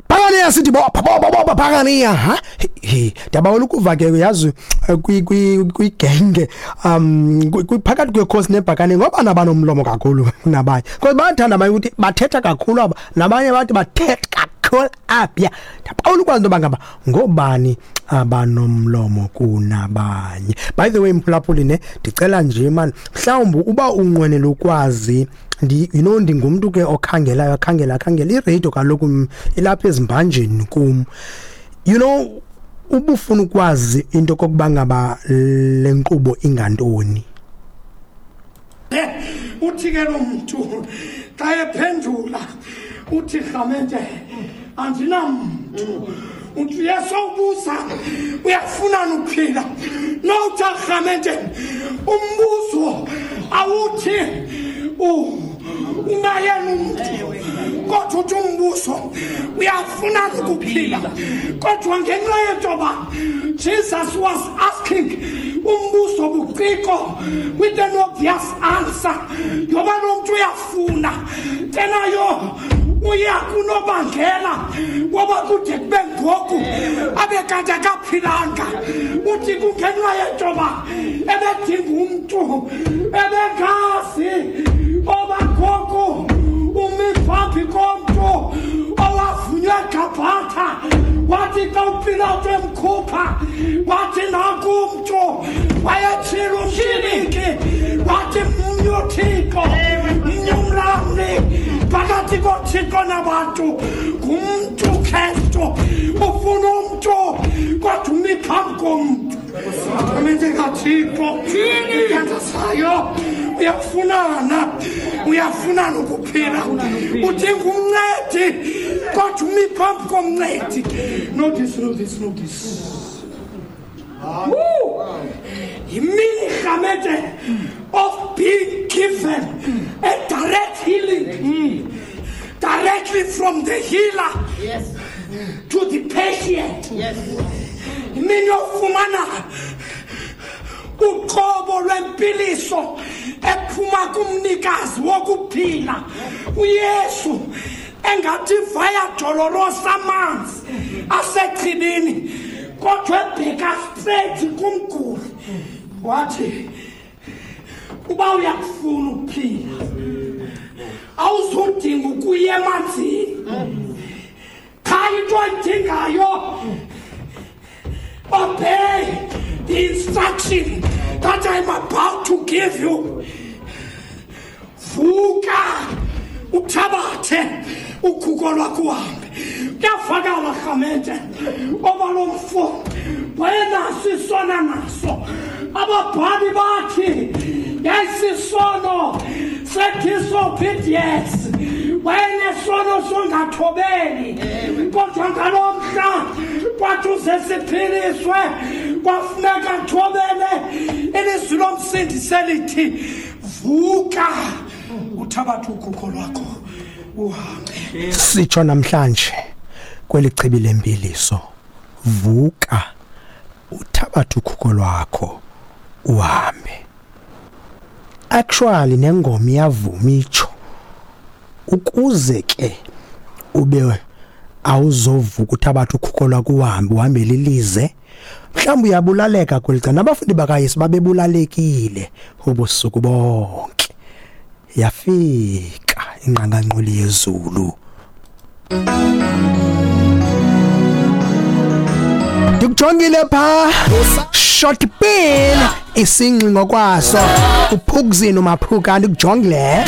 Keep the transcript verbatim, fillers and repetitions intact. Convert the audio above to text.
Phakaniya sithi bopha bopha bopha phakaniya ha he ndiyabawela ukuva ke yazi kwi kwi kwigenge um phakathi kwekhosi nebhakane ngoba nabanomlomo kakhulu nabanye because bayathanda abanye ukuthi bathetha kakhulu aba nabanye bathi bathetha kakhulu apha. Ndiyabawela ukwazi into yoba ngaba ngobani abanomlomo kunabanye. By the way mphulaphuli ne ndicela nje man mhlawumbi uba unqwenela ukwazi ndi you know ndingumntu ke okhangelayo akhangela akhangela iradio kaloku ilapha ezimbanjeni kum. You know ubufuna ukwazi into kokuba ngaba le nkqubo ingantoni. Uthi ke lo mntu xa ephendula uthi rhamente andinamntu. Uthi Yesu ubuza uyafuna ukuphila. Nowuthi rhamente umbuzo awuthi unayena umntu kodwa uthi umbuzo uyafuna ukuphila. Kodwa ngenxa yentoba Jesus was asking umbuzo buciko with an obvious answer yoba lo mntu uyafuna tenayo uya kunobangela ngoba kude kube ngoku abe kanti akaphilanga. Uthi kungenxa yentoba ebedinga umntu ebengazi oba ngoku umi phambi komntu owavunywa eGabhatha wathi xa uPilato emkhupha wathi nanku umntu wayetshila umshiniki wathi mnye uThixo mnye umlamli phakathi koThixo nabantu ngumntu Kristu. Ufuna umntu kodwa umi phambi komntu. Amente kaThixo uthandazayo uyafunana uyafunana ukuphila. Udinga umncedi kodwa umi phambi komncedi. Notice, notice, notice. Imini rhamente of being given a direct healing mm. directly from the healer yes. to the patient. Yes. Imini yofumana uqobo lwempiliso ephuma kumnikazi wokuphila uYesu engathi vaya dolorosa amanzi asechibini kodwa ebheka straight kumguli wathi uba uyakufuna ukuphila awuzudinga ukuya emanzini qha into oyidingayo obey the instruction that I'm about to give you. Vuka uthabathe ukhuko lwakho uhambe. Kuyavakala rhamente oba lo mfo wayenaso isona naso. Ababhali bathi yayisisono se-disobedience wayenesono songathobeli kodwa ngalo mhla kwathi uze siphiliswe kwafuneka athobele ilizwi lomsindisi elithi vuka uthabathe ukhukho lwakho uhambe. Sitsho namhlanje kweli chibi lempiliso, vuka uthabathe ukhukho lwakho uhambe. Actually nengoma iyavuma itsho ukuze ke ube awuzovuka uthabathe ukhukho lwakho uhambe uhambe lilize. Mhlawumbe uyabulaleka kweli cala. Nabafundi bakaYesu babebulalekile ubusuku bonke. Yafika ingqanganquli yezulu. Ndikujongile pha short pin isingxi ngokwaso uphukuzini umaphuka ndikujongile.